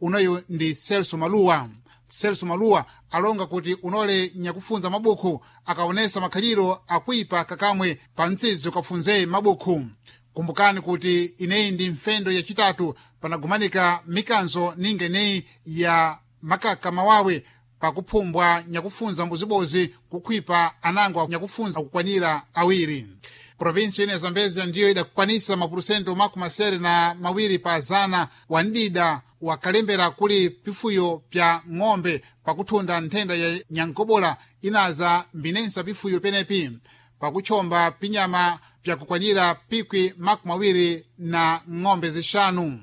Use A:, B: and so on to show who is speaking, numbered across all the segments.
A: Unoyu ndi Celso Maluwa. Celso Maluwa alonga kuti unole nyakufunza mabukhu akaonesa makhaliro akuipa kakamwe pa mtsizi ukafunze mabukhu. Kumbukani kuti ineyi ndi mfendo yachitatu panagumanika mikanzo ninga ineyi ya makaka mawawe pakuphumbwa nyakufunza mbuzibozi kukhwipa anango nyakufunza kukwanira 2. Provinsi ino ya Zambezia ndiyo idakukwanisa mapurusento 62 wa ndida wakalembera kuli pifuyo pya ng'ombe pakuthunda nthenda ya nyangobola inaza mbinensa pifuyo penepi pakutchomba pinyama pyakukwanira pikwi 20 na ng'ombe 5.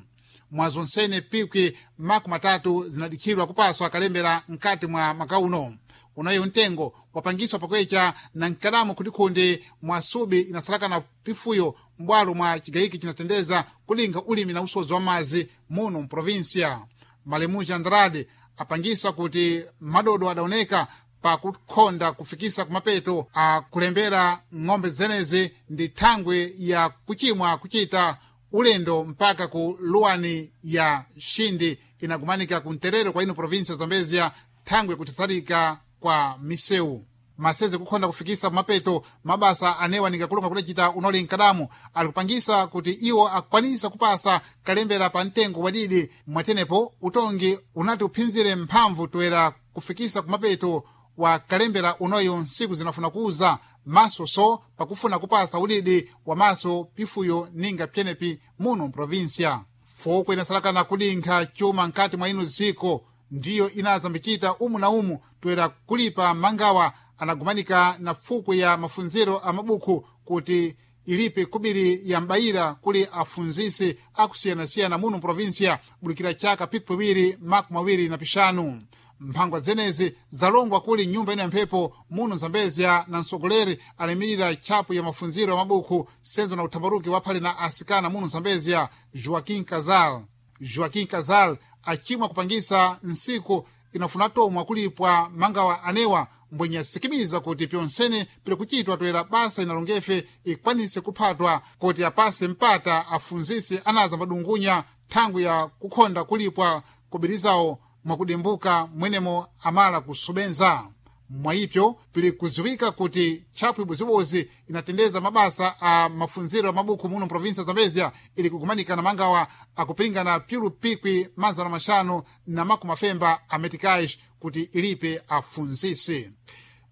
A: Mwazonsene pikwi 30 zinadikhirwa kupaswa kalembera mkati mwa makauno. Unayo mtengo wapangiswa pakwecha na nkadamu kundikhundi mwa subi inasalakana pifuyo mbwalo mwa chigayiki chinatendeza kulinga ulimi na usozi wa mazi muno mprovinsia. Malemuja Andrade apangisa kuti madodo adaoneka pakukhonda kufikisa kumapeto akulembera ng'ombe zenezi ndi thangwi ya kuchimwa kuchita ulendo mpaka ku luwani ya Xindi inagumanika ku mterero kwa ino provinsia Zambezia thangwi kuthathalika kwa misewu. Maseze kukhonda kufikisa kumapeto mabasa anewa ningakulonga kudacita unoli nkadamu alikupangisa kuti iwo akwanisa kupasa kalembera pa mtengo wadidi. Mwatenepo utongi unati uphinzire mphamvu toera kufikisa kumapeto wa kalembera unoyo nsiku zinafuna kuuza maso so pakufuna kupasa udidi wa maso pifuyo ninga pyenepi muno mprovinsia. Foko inasalakana kudinkha chuma nkati mwa ino ziko ndiyo inazambicita umu na umu toera kulipa mangawa anagumanika na fuku ya mafunziro a mabukhu kuti ilipe kubiri ya mbayira kuli afunzisi akusiyanasiyana muno mprovinsia bulikira chaka piku 2025. Mphangwa zenezi zalongwa kuli nyumba ino ya mphepo muno Zambezia na msogoleri alimirira tchapu ya mafunziro ya mabukhu senzo na uthambaruki waphale na asikana muno Zambezia, Joaquim Casal. Joaquim Casal achimwa kupangisa nsiku inafuna tomwa kulipwa mangawa anewa mbwenye asikimiza kuti pyonsene pili kuchitwa toera basa inalongefe ikwanise kuphatwa kuti apase mpata afunzisi anaza madungunya thangwi ya kukhonda kulipwa kubirizawo mwakudimbuka mwenemo amala kusubenza. Mwayipyo pili kuziwika kuti tchapu ibozibozi inatendeza mabasa a mafunziro a mabukhu muno mprovinsia Zambezia ili kugumanika na mangawa akupiringana pyulu pikwi 550 a meticais kuti ilipe afunzisi.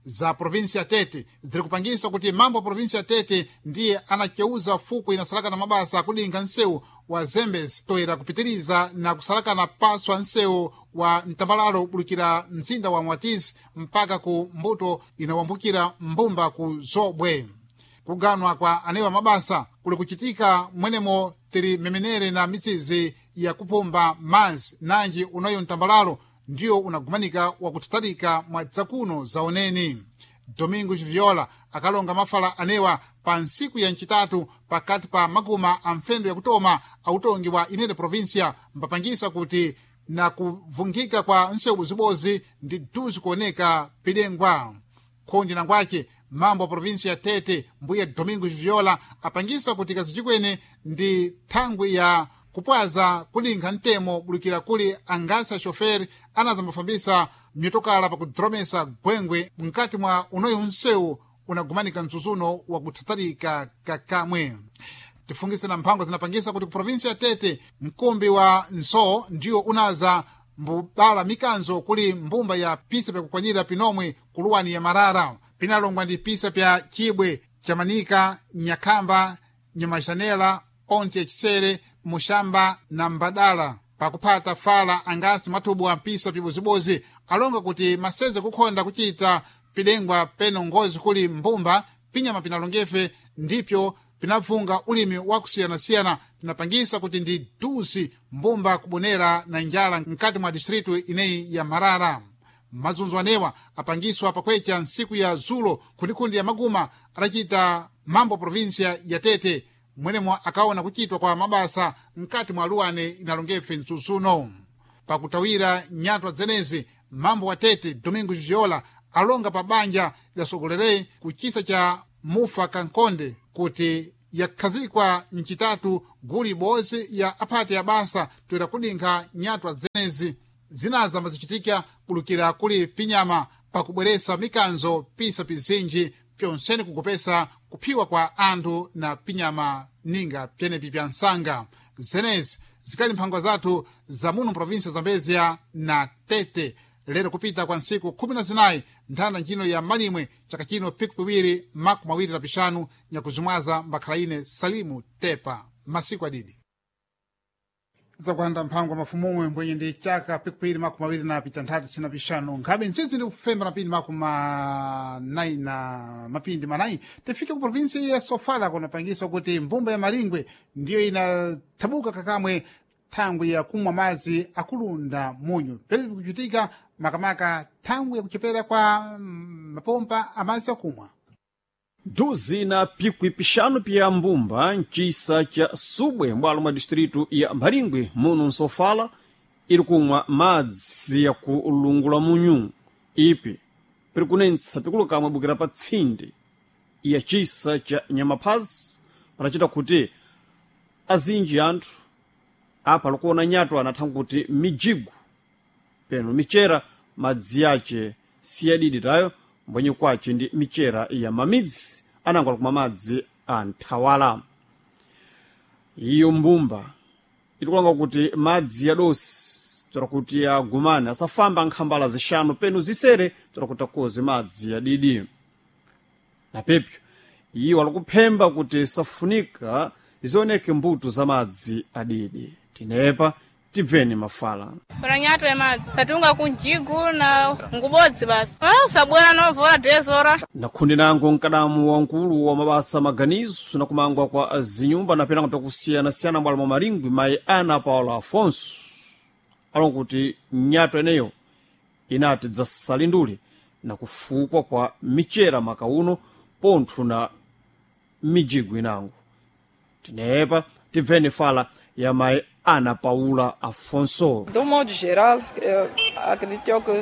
A: Za provinsia Tete ziri kupangisa kuti mambo a provinsia Tete ndiye anacheuza fuku inasalakana mabasa akulinga nsewu wa Zembezi toera kupitiriza na kusalakana paswa nsewu wa mtambalalo bulukira mzinda wa Mwatizi mpaka ku mbuto inawambukira mbumba ku Zobwe. Kuganwa kwa anewa mabasa kuli kuchitika mwenemo tiri memenere na mitsizi ya kupumba mazi nanji unayo mtambalalo ndiyo unagumanika wakuthatalika mwa dzakuno zaoneni. Domingos Viola akalonga mafala anewa pa ntsiku ya ncitatu pakati pa makuma a mfendo yakutoma autongi wa inene provinsia mpapangisa kuti na kuvungika kwa nsewu bozibozi ndi duzi kuoneka pidengwa. Khondi nangwace mambo a provinsia ya Tete mbuya Domingos Viola apangisa kuti kazichikwene ndi thangwi ya kupwaza kulinkha mtemo bulukira kuli angasa shoferi anazambafambisa myotokala pakudromesa gwengwe mkati mwa unoyo nsewu unagumanika mzuzuno wakuthathalika kakamwe. Tifungise na mphango zinapangisa kuti ku provinsi ya Tete mkumbi wa nsoo ndiyo unaza mbubala mikanzo kuli mbumba ya pisa pyakukwanira pinomwe kuluwani ya Marara pinalongwa ndi pisa pya Chibwe, Chamanika, Nyakhamba, Nyamajanela, Ponte ya Chisere, Muxamba na Mbadala pakuphata fala angasi mathubu a mpisa pibozibozi alonga kuti maseze kukhonda kuchita pilengwa peno ngozi kuli mbumba pinyama pinalongefe ndipyo pinabvunga ulimi wakusiyanasiyana pinapangisa kuti ndi duzi mbumba kubonera na njala mkati mwa distritu ineyi ya Marara. Mazunzo anewa apangiswa pakwecha ntsiku ya zulo kundikundi ya maguma adacita mambo provinsia ya Tete mwenemo akaona kuchitwa kwa mabasa mkati mwa luwane inalongefe mzuzuno. Pakutawira nyatwa dzenezi mambo wa Tete Domingos Viola alonga pa banja lidasogolerei kuchisa cha Mufa Kankonde kuti Yakhazikwa mcitatu gulu ibodzi ya aphati ya basa toera kudinkha nyatwa zenezi zinaza ambazichitika kulukira kuli pinyama pakubweresa mikanzo pisa pizinji pyonsene kukopesa kuphiwa kwa anthu na pinyama ninga pyenepi pya nsanga. Zenezi zikali mphangwa zathu za muno mprovinsia Zambezia na Tete lero kupita kwa ntsiku 14 nthanda ntchino ya malimwe chaka chino piku piwiri 25 nyakuzimwaza mbakhala ine Salimu Tepa masiku adidi zakuhanda mphango mafumumwe mbwenye ndi chaka pikupiri 26 sina pixanu nkhabe ntsitsi ndi kufemba mapindi 40 na mapindi manayi. Tifike ku provinsi ya Sofala kunapangiswa kuti mbumba ya Maringwe ndiyo inathabuka kakamwe thangwi ya kumwa madzi akulunda munyu pere kuchitika makamaka thangwi yakuchepera kwa mapompa amadzi akumwa.
B: Duzi na pikwi pixanu pya mbumba ncisa ca Subwe mbwalo mwa distritu ya Maringwe muno nsofala iri kumwa madzi ya kulungula munyu ipi piri kunentsa pikulukamwe bukira pa tsindi ya cisa ca Nyamaphazi panacita kuti azinji anthu apa likuona nyatwa anathanga kuti mijigu peno michera madzi yace siyadidi tayo mbwenye kwace ndi michera ya mamidzi anango alikumwa madzi a nthawala. Iyo mbumba itikulanga kuti madzi ya dosi tora kuti agumane asafamba nkhambala zixanu penu zisere tora kuti akoze madzi ya didi. Na pepyo iwo alikuphemba kuti safunika zioneke mbuto za madzi adidi. Tinepa tibveni mafala.
C: Paranyatwa madzi tatunga kunjigu na ngubodzi basi usabwera novora dezora.
B: Nakhundi nango mkadamu wankulu wa mabasa maganizo na kumangwa kwa zinyumba na penango pyakusiyana-siyana mbwalo mwa Maringwi mayi Ana Paula Afonso alonga kuti nyatwa eneyo inati dzasalindule na kufukwa kwa michera makauno pontho na mijigu inango. Tinepa tibveni fala ya mayi Ana Paula Afonso.
D: Do modo geral, eu acredito que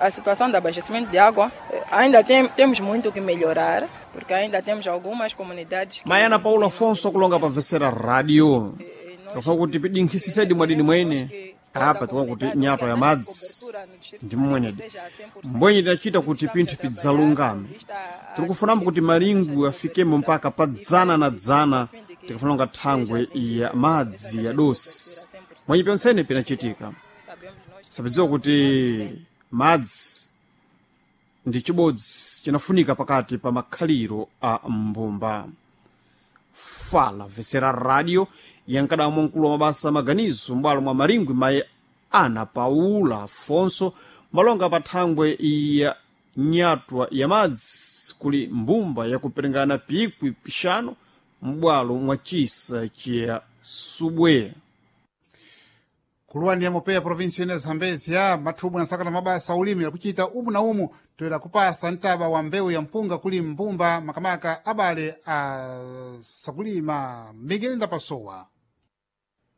D: a situação de abastecimento de água ainda temos muito que melhorar, porque ainda temos algumas comunidades que...
B: Mayi Ana Paula Afonso akulonga pamvesera radio. Tikufa kuti pidinkhisisedi mwadini mwene apa tikuona kuti nyatwa ya madzi ndi mmwenedi mbwenye tidacita kuti pinthu pidzalungame. Tikufunambo kuti Maringwe afikemo mpaka pa dzana na dzana tikafuna nga thangwe ya madzi ya dosi mwenye pyonsene pinachitika. Sapidziwa kuti madzi ndi chibodzi chinafunika pakati pa makhaliro a mbumba. Fala vesera radio yankadamo mkulu wa mabasa maganizo mbwalo mwa Maringwi mayi Ana Paula Afonso malonga pa thangwe ya nyatwa ya madzi kuli mbumba yakuperengana pikwi pixanu m'bwalo mwa cisa cha Subwe.
A: Kuluwa ndiye mopeya provinsi ine Zambezia mathubwi nasakana mabasa ulimi akuchita umu na umu toera kupasa mtaba wa mbewu ya mpunga kuli mbumba makamaka abale a sakulima. Miguel Ndapasowa.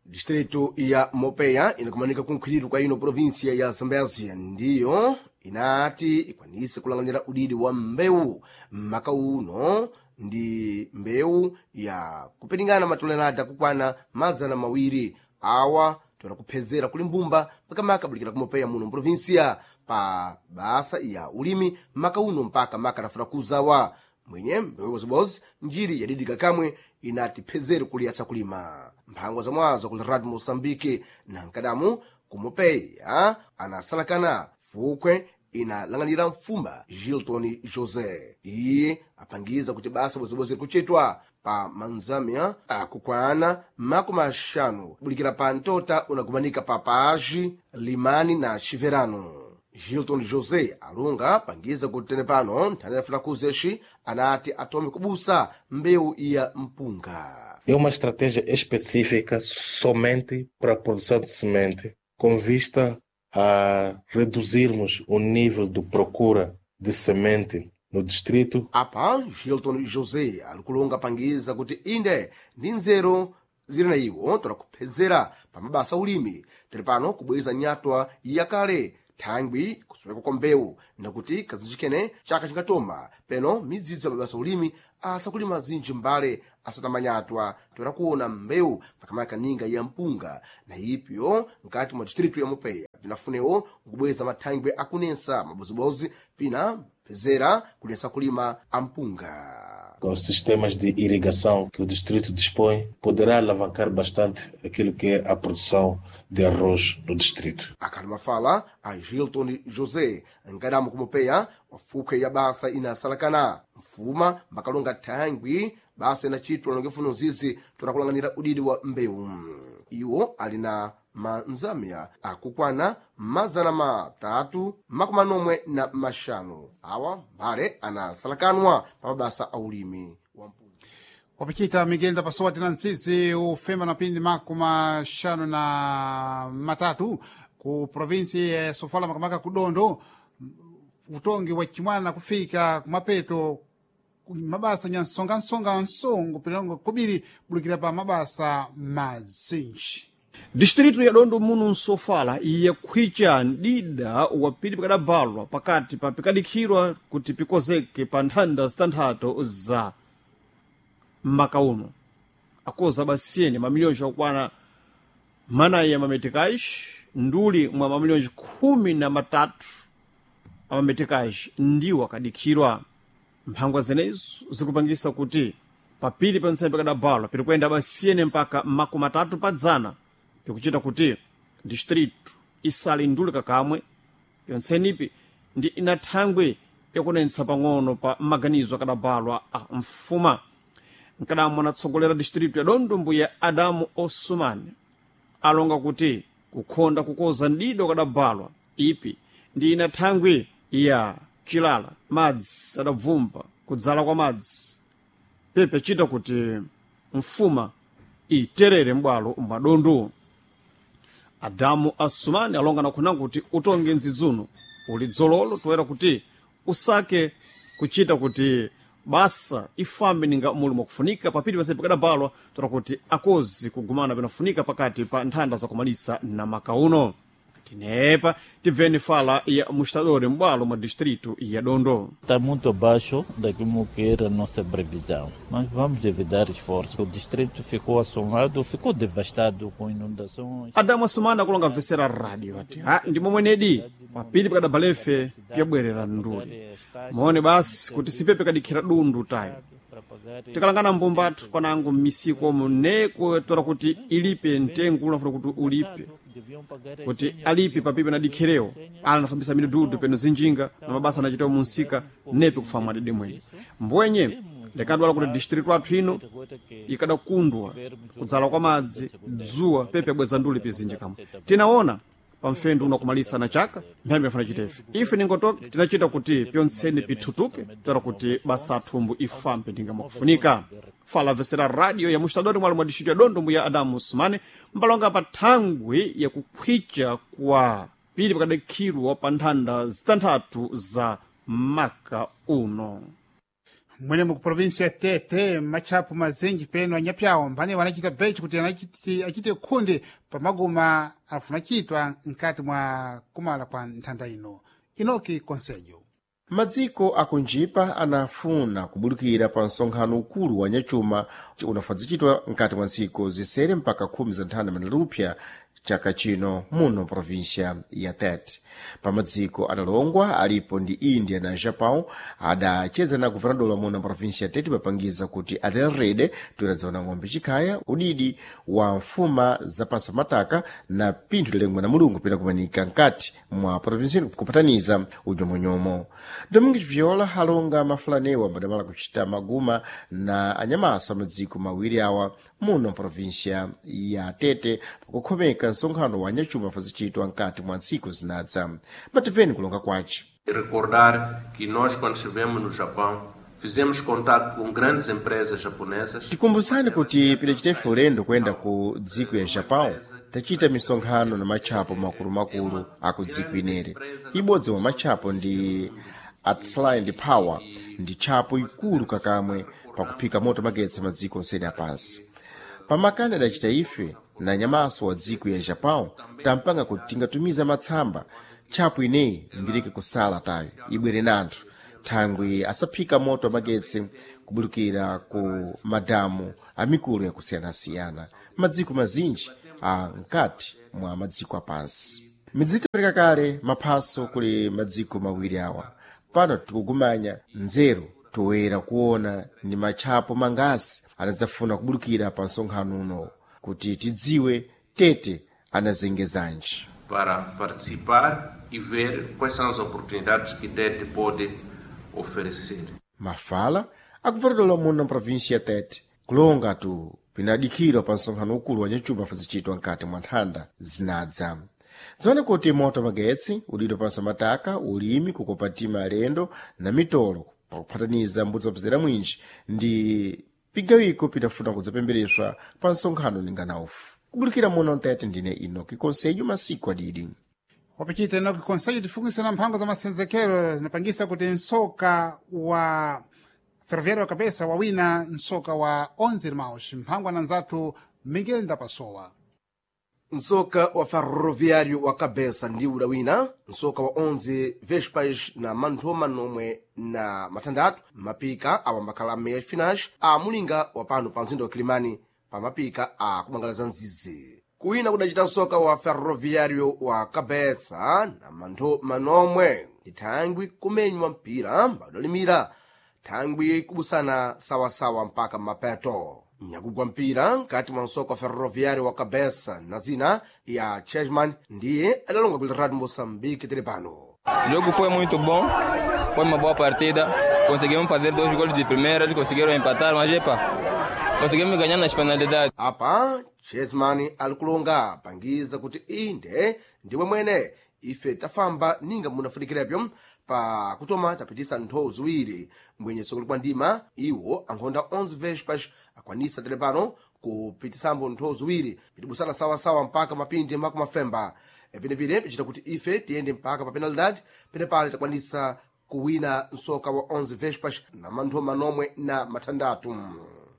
E: Distrito ya Mopeya inakumanika kunkhwiriro kwa ino província ya Zambésia ndiyo inati ikwanise kulang'anira udidi wa mbewu maka uno ndi mbewu ya kupiringana matolerada kukwana 200 awa toera kuphezera kuli mbumba makamaka bulikira kumopeya muno mprovinsia pa basa ya ulimi maka uno mpaka maka rafuna kuzawa mwenye mbewu ibozibodzi njiri yadidika kamwe inati phezere kuli asakulima mphango zamwazo kuli radio Moçambique na nkadamu kumopeya anasalakana fukwe inalang'anira mfumba Gilton José iye apangiza kuti basa bozibodzi likuchitwa pa manzamia akukwana 50 bulikira pa ntota unagumanika pa Paji, Limani na Chiverano. Gilton José alunga pangiza kuti tene pano nthani yafuna kuzexi anati atome kubusa mbewu ya mpunga.
F: É uma estratégia específica somente para a produção de semente, com vista a reduzirmos o nível de procura de semente no distrito.
E: Apa Gilton José alikulonga pangiza kuti inde ndi nzeru zili na iwo tola kuphezera pa mabasa ulimi tili pano kubweza nyatwa yakale Thangwi kusoweka kwa mbewu nakuti kazinjikene chaka chingatoma peno midzidzi ya mabasa ulimi asakulima zinji mbale asatamanyatwa toera kuona mbewu makamaka ninga ya mpunga na ipyo mkati mwa distritu ya Mopeya pinafunewo nkubweza mathangwi akunensa mabozibozi pina pezera kulesa kulima ampunga.
F: Com os sistemas de irrigação que o distrito dispõe, poderá alavancar bastante aquilo que é a produção de arroz no distrito.
E: Akhali mafala a Gilton José nkadamo kumopeya wafuke ya basa inasalakana mfuma mbakalonga thangwi basa inachitwa longefuno zizi torakulanganira udidi wa mbewu. Iwo ali na manzamya akukwana 345 awa mbale anasalakanwa pa mabasa a ulimi wa mpunga.
A: Wapachita migenda pasowa tina mtsisi ufemba na pindi 53 ku provinsi ya Sofala makamaka kudondo utongi wa chimwana kufika kumapeto mabasa nyansongansonga nsongo pilongo kubiri bulukira pa mabasa mazinji.
B: Distritu ya Dondo muno nsofala yakhwicha mdida wa pili pikadabalwa pakati pa pikadikhirwa kuti pikozeke pa nthanda zitanthatu za maka uno akoza basiyeni mamiliyonji akukwana manayi ya mametikaji nduli mwa mamiliyonji 13 amametikaji ndiwo akadikhirwa. Mphangwa zenezo zikupangisa kuti papili pa ntsembe pikadabalwa pirikuyenda basiyeni mpaka 30 pa dzana pikuchita kuti distritu isali nduli kakamwe yontsenipi ndi ina thangwi yakunenetsa pang'ono pa maganizo akadabalwa a mfuma. Nkadamo anatsogolera distritu ya Dondo mbuya Adamu Osumani alonga kuti kukhonda kukoza mdido akadabalwa ipi ndi ina thangwi ya chilala madzi adabvumba kudzala kwa madzi pepe chita kuti mfuma iterere m'bwalo mwa Dondo. Adamu Asumani alonga nakhuna kuti utonge ndzidzuno uli dzololo toera kuti usake kuchita kuti basa ifambe ninga muli mwakufunika papili pase pikadabalwa toera kuti akozi kugumana pinafunika pakati pa nthanda zakumalisa na makauno. Tinepa tibveni fala ya mustadori m'bwalo mwa distritu ya Dondo.
G: Está muito abaixo daquilo que era a nossa previsão, mas vamos evitar esforços. O distrito ficou assolado, ficou devastado com inundações.
B: Adamu Asumani akulonga mvesera radio ati ha ndi momwe nedi papili pakadabalefe piyabwerera nduli mone basi kuti sipepe kadikhira dundu tayo tikalangana mbumbatu panango m'misiko omu neko toera kuti ilipe mtengo unafuna kuti ulipe kuti alipe papipe na dikhirewo ala anafambisa midududu peno zinjinga na mabasa anachitawo munsika nepe kufamwa dede mwene mbwenye ndikadwala kuti distritu athu ino ikadakundwa kudzala kwa madzi dzuwa pepe abweza nduli pizinji kamwe tinaona pamfendu unakumalisa na chaka mphambi afuna chita ife ife ningotoka tinachita kuti pyontseni pithutuke toera kuti basa athumbu ifambe ndingamakufunika. Fala vesera radio ya mustadori mwali mwa distritu ya Dondo mbuya Adamu Sumani mbalonga pa thangwi yakukhwicha kwa pili pakadakhirwa pa nthanda zitanthatu za maka uno.
A: Mwenemo ku provinsi ya Tete matchapo mazinji peno anyapyawo mphani wanachita bechi kuti achite khundi pamaguma afuna chitwa mkati mwa kumala kwa nthanda ino. Inoki Konselho.
H: Madziko akunjipa anafuna kubulukira pa msonkhano ukulu wa nyachuma unafadzichitwa mkati mwa ntsiku zisere mpaka 10 za nthanda manalupya chaka chino muno província ya Tete. Pamadziko adalongwa alipo ndi India na Japão adacheza na guvernadola muno província ya Tete papangiza kuti atererede toeradziwana ng'ombe chikhaya udidi wa mfuma zapansi pamataka na pinthu lilengwa na mulungu pena kumanika mkati mwa província ino kupataniza unyomonyomo. Domingos Viola alonga mafulanewa madamala kuchita maguma na anyamasa madziko mawiri awa muno província ya Tete pakukhomeka msonkhano wa nyachuma fazichitwa mkati mwa ntsiku zinadza. Mativeni kulonga kwace.
I: Recordar que nós, quando estivemos no Japão, fizemos contato com grandes empresas japonesas.
H: Tikumbusani kuti pidachitefe ulendo kuyenda ku dziko ya Japão tachita misonkhano na matchapo makulumakulu aku dziko inere. Ibodzi mwa matchapo ndi Atline Power ndi tchapo ikulu kakamwe pakuphika moto magetsi madziko onsene apansi. Pamakani adachita ife Na nyamaso wa dziko ya Japão tampanga kuti tingatumiza matsamba tchapo ineyi mbirike kusala tayo ibwere nanthu thangwi asaphika moto amagetsi kubulukira ku madamu amikulu yakusiyanasiyana madziko mazinji a mkati mwa madziko apansi. Midzitapereka kale maphaso kuli madziko mawiri awa. Pano tikugumanya nzeru toyera kuona ndi matchapo mangasi anadzafuna kubulukira pa msonkhano uno kuti tidziwe Tete anazengezanji.
I: Para participar e ver quais são as oportunidades que Tete pode oferecer.
H: Mafala akuvatidwa muno mprovinsi ya Tete kulonga tu pinadikhirwa pa msonkhano ukulu wa nyachuma fazichitwa mkati mwa nthanda zinadza. Dzione kuti moto magetsi udidwa pansi mataka, ulimi, kukopatima alendo na mitolo pakuphataniza mbudzi wapezera mwinji ndi pigawiko pitafuna kudzapembereswa pa msonkhano ninganaufu. Kubulukira muno Mtete ndine Enoki Konselho masiku adidi.
A: Wapichita Enoki Konselho tifungisa mphango za masenzekero zinapangisa kuti msoka wa Ferroviário wa Cabeça wawina msoka wa 11 Irmãos. Mphango ananzathu Miguel Ndapasowa.
E: Msoka wa Ferroviário wa Cabeça ndi udawina msoka wa 11 Vespas na manthoma nomwe na matandatu mapika awambakhala meias finais a mulinga wa pano pa mzinda wa Kilimani pa mapika a kumangalaza mzizi. Kuwina kudacita msoka wa Ferroviário wa Cabeça na manthoma nomwe ndi thangwi kumenywa mpira mbadalimira thangwi kubusana sawasawa mpaka mapeto. Nyakugwa mpira nkati mwa msoka wa Ferroviário wa Cabeça na zina ya Chesman ndiye adalonga kuli Radio Moçambique tili pano.
J: O jogo foi muito bom, foi uma boa partida. Conseguimos fazer dois gols de primeira, eles conseguiram empatar, mas epa, conseguimos ganhar nas penalidades.
E: Apa Chesman alikulonga pangiza kuti inde ndiwe mwene ife tafamba ninga munafunikirepyo pa kutoma tapitisa nthowo ziwiri mbwenyeso kuli kwa ndima iwo ankhonda 11 Vespas akwanisa tele pano kupitisambo nthowo ziwiri pitibusana sawasawa mpaka mapindi mpaka mafemba. Penepene pichita kuti ife tiyende mpaka pa penalidade penepale takwanisa kuwina msoka wa 11 Vespas na manthoma nomwe na mathandatu.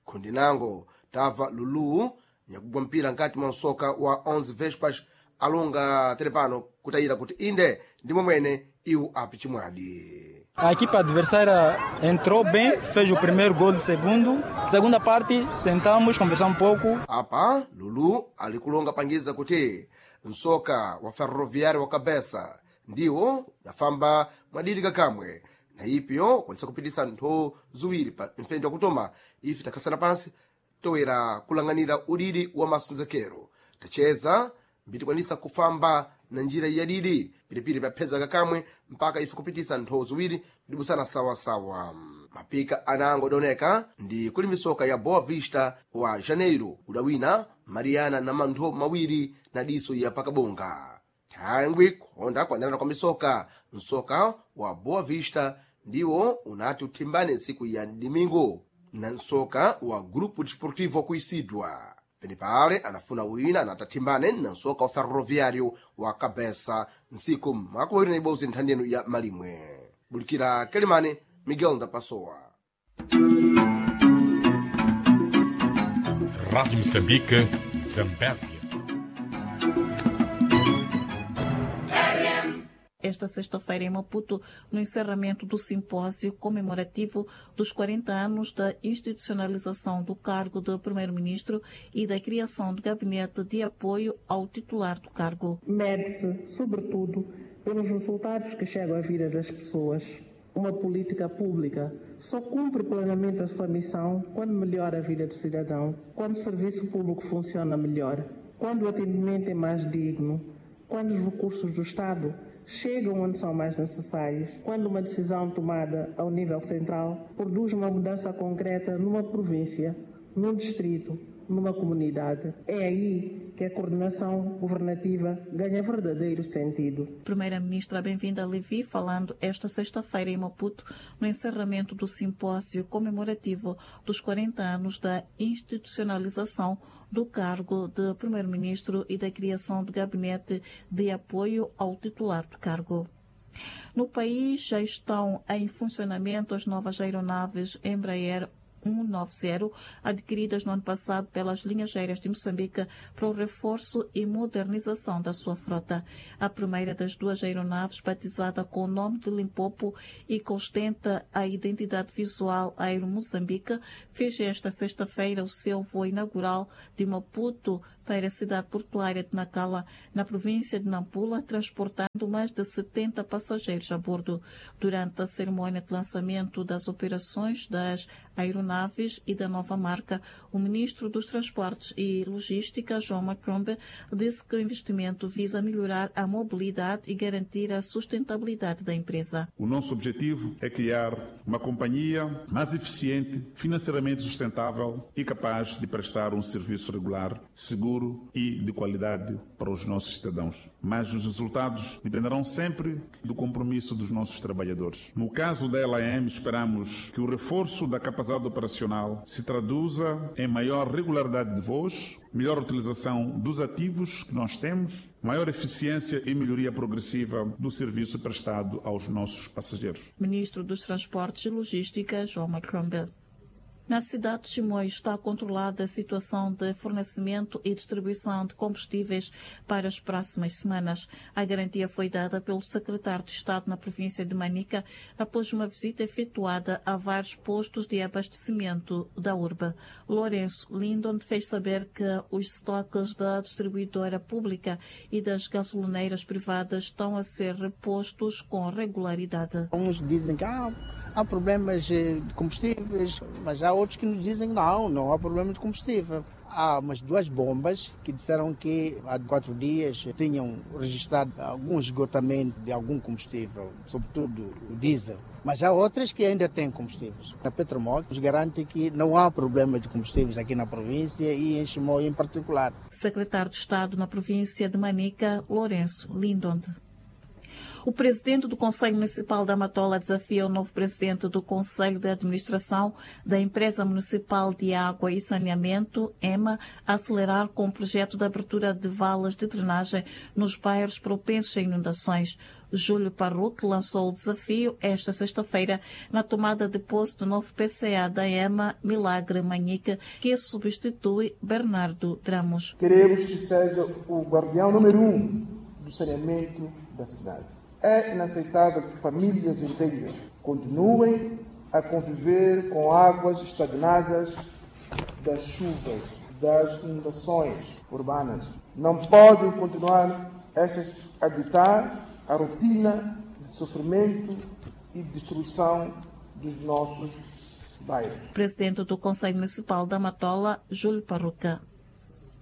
E: Khundi nango tamva Lulu nyakugwa mpira nkati mwa msoka wa 11 Vespas alonga telepano kutayira kuti inde ndimwe mwene iwo api chimwadi.
K: A equipe adversária entrou bem, fez o primeiro gol, segundo. Segunda parte, sentamos, conversamos pouco.
E: Apa Lulu alikulonga pangiza kuti msoka wa Ferroviário wa Cabeça ndiwo dafamba mwadidi kakamwe na ipyo kwanisa kupitisa ntho ziwiri pa mfendi wakutoma ife takhalasana pansi toyera kulang'anira udidi wa masenzekero tacheza mbitikwanisa kufamba na njira yadidi pilipili papheza kakamwe mpaka ife kupitisa ntho ziwiri pitibusana sawasawa. Mapika anango adoneka ndi kuli misoka ya Boa Vista wa Janeiro udawina Mariana na mantho mawiri na diso ya pakabonga. Thangwi kuhonda kuandanana kwa misoka msoka wa Boa Vista ndiwo unati uthimbane ntsiku ya domingo na msoka wa Grupo Desportivo kuisidwa. Penepale anafuna wina anatathimbane na msoka wa Ferroviário wa Cabeça ntsiku makumi na ibodzi nthandeno ya malimwe. Bulikira Kelimane, Miguel Ndapasowa.
L: Rádio Moçambique, Zambésia.
M: Esta sexta-feira em Maputo, no encerramento do simpósio comemorativo dos 40 anos da institucionalização do cargo de Primeiro-Ministro e da criação do gabinete de apoio ao titular do cargo.
N: Mede-se, sobretudo, pelos resultados que chegam à vida das pessoas. Uma política pública só cumpre plenamente a sua missão quando melhora a vida do cidadão, quando o serviço público funciona melhor, quando o atendimento é mais digno, quando os recursos do Estado chegam onde são mais necessários, quando uma decisão tomada ao nível central produz uma mudança concreta numa província, num distrito, numa comunidade. É aí que a coordenação governativa ganha verdadeiro sentido.
M: Primeira-Ministra Benvinda Levi falando esta sexta-feira em Maputo no encerramento do simpósio comemorativo dos 40 anos da institucionalização do cargo de Primeiro-Ministro e da criação do gabinete de apoio ao titular do cargo. No país já estão em funcionamento as novas aeronaves Embraer 190, adquiridas no ano passado pelas linhas aéreas de Moçambique para o reforço e modernização da sua frota. A primeira das duas aeronaves, batizada com o nome de Limpopo e que ostenta a identidade visual Aero Moçambique, fez esta sexta-feira o seu voo inaugural de Maputo para a cidade portuária de Nacala, na província de Nampula, transportando mais de 70 passageiros a bordo. Durante a cerimônia de lançamento das operações das aeronaves e da nova marca, o ministro dos Transportes e Logística, João Macombe, disse que o investimento visa melhorar a mobilidade e garantir a sustentabilidade da empresa.
O: O nosso objetivo é criar uma companhia mais eficiente, financeiramente sustentável e capaz de prestar um serviço regular, seguro e de qualidade para os nossos cidadãos. Mas os resultados dependerão sempre do compromisso dos nossos trabalhadores. No caso da LAM, esperamos que o reforço da capacidade operacional se traduza em maior regularidade de voos, melhor utilização dos ativos que nós temos, maior eficiência e melhoria progressiva do serviço prestado aos nossos passageiros.
M: Ministro dos Transportes e Logística, João Macrombe. Na cidade de Chimoio está controlada a situação de fornecimento e distribuição de combustíveis para as próximas semanas. A garantia foi dada pelo secretário de Estado na província de Manica após uma visita efetuada a vários postos de abastecimento da urbe. Lourenço Lindon fez saber que os estoques da distribuidora pública e das gasolineiras privadas estão a ser repostos com regularidade.
P: Uns dizem que há problemas de combustíveis, mas há outros que nos dizem que não há problema de combustível. Há umas duas bombas que disseram que há 4 dias tinham registrado algum esgotamento de algum combustível, sobretudo o diesel. Mas há outras que ainda têm combustíveis. A Petromoc nos garante que não há problema de combustíveis aqui na província e em Chimoio em particular.
M: Secretário de Estado na província de Manica, Lourenço Lindonde. O presidente do Conselho Municipal da Matola desafia o novo presidente do Conselho de Administração da Empresa Municipal de Água e Saneamento, EMA, a acelerar com o projeto de abertura de valas de drenagem nos bairros propensos a inundações. Júlio Parruque lançou o desafio esta sexta-feira na tomada de posse do novo PCA da EMA, Milagre Manhica, que substitui Bernardo Dramos.
Q: Queremos que seja o guardião número 1 do saneamento da cidade. É inaceitável que famílias inteiras continuem a conviver com águas estagnadas das chuvas, das inundações urbanas. Não podem continuar estas a ditar a rotina de sofrimento e destruição dos nossos bairros.
M: Presidente do Conselho Municipal da Matola, Júlio Parruca.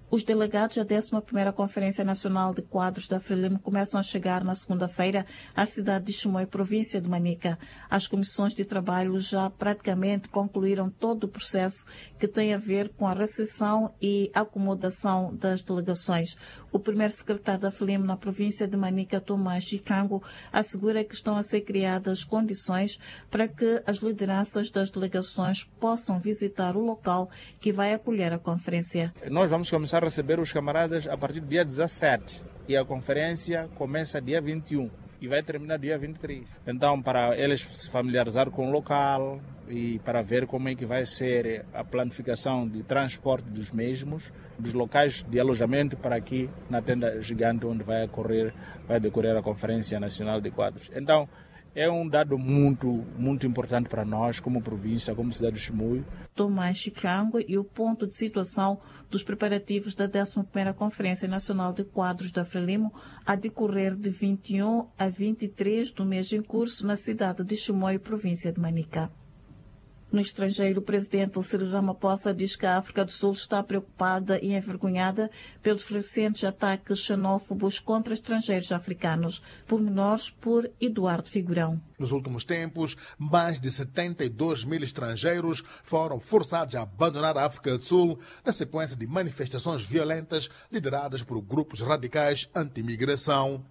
M: Os delegados da 11ª Conferência Nacional de Quadros da Frelimo começam a chegar na segunda-feira à cidade de Chimoio, província de Manica. As comissões de trabalho já praticamente concluíram todo o processo que tem a ver com a recepção e acomodação das delegações. O primeiro secretário da Frelimo na província de Manica, Tomás Chicango, assegura que estão a ser criadas condições para que as lideranças das delegações possam visitar o local que vai acolher a conferência.
R: Nós vamos começar a receber os camaradas a partir do dia 17 e a conferência começa dia 21 e vai terminar dia 23. Então, para eles se familiarizar com o local e para ver como é que vai ser a planificação de transporte dos mesmos, dos locais de alojamento para aqui na tenda gigante onde vai decorrer a Conferência Nacional de Quadros. Então, é um dado muito, muito importante para nós, como província, como cidade de Chimoio.
M: Tomás Chicango e o ponto de situação dos preparativos da 11ª Conferência Nacional de Quadros da Frelimo a decorrer de 21 a 23 do mês em curso na cidade de Chimoio, província de Manica. No estrangeiro, o presidente Cyril Ramaphosa diz que a África do Sul está preocupada e envergonhada pelos recentes ataques xenófobos contra estrangeiros africanos. Pormenores por Eduardo Figurão.
S: Nos últimos tempos, mais de 72 mil estrangeiros foram forçados a abandonar a África do Sul na sequência de manifestações violentas lideradas por grupos radicais anti-imigração.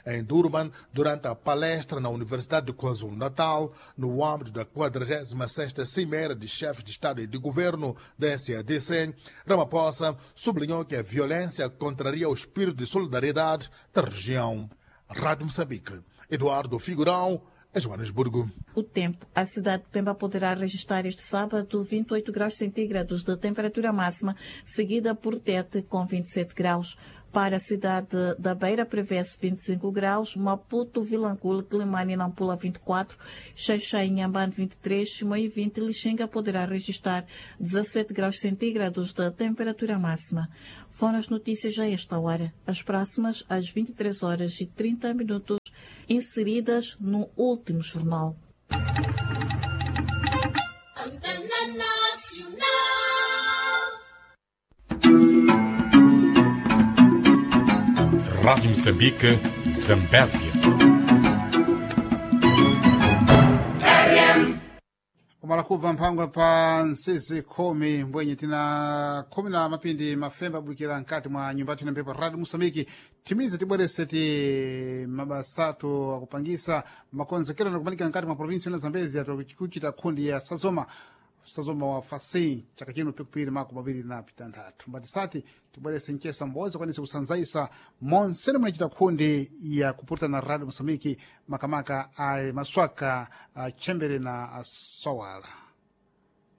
S: Em Durban, durante a palestra na Universidade de KwaZulu-Natal, no âmbito da 46ª Cimeira de Chefes de Estado e de Governo da SADC, Ramaphosa sublinhou que a violência contraria o espírito de solidariedade da região. Rádio Moçambique, Eduardo Figurão, em Joanesburgo.
M: O tempo. A cidade de Pemba poderá registrar este sábado 28 graus centígrados de temperatura máxima, seguida por Tete com 27 graus. Para a cidade da Beira prevê-se 25 graus, Maputo, Vilanculo, Quelimane e Nampula 24, Xaixai e Inhambane 23, Chimoio 20 e Lixinga poderá registrar 17 graus centígrados de temperatura máxima. Foram as notícias a esta hora. As próximas às 23 horas e 30 minutos, inseridas no último jornal.
T: Antena Nacional.
L: Rádio Moçambique, Zambésia.
A: Kumala kubva mphangwa pa nsizi khumi mbwenye tina khumi na mapindi mafemba abulukira nkati mwa nyumba yathu ina mphepo Radio Moçambique. Timize tibwerese ti mabasatu akupangisa makonzekero nakumanika nkati mwa provinsi ino Zambezia tokuchita khundi ya Sazoma Sazoma wa fasi chaka chino pikupiri mako mawiri na pitanthatu mbati sati tibwerese mchesa mboza kwanisa kusanzaisa monsene munachita khundi ya kuputa na Radio Moçambique makamaka a maswaka a chembere na a sowala.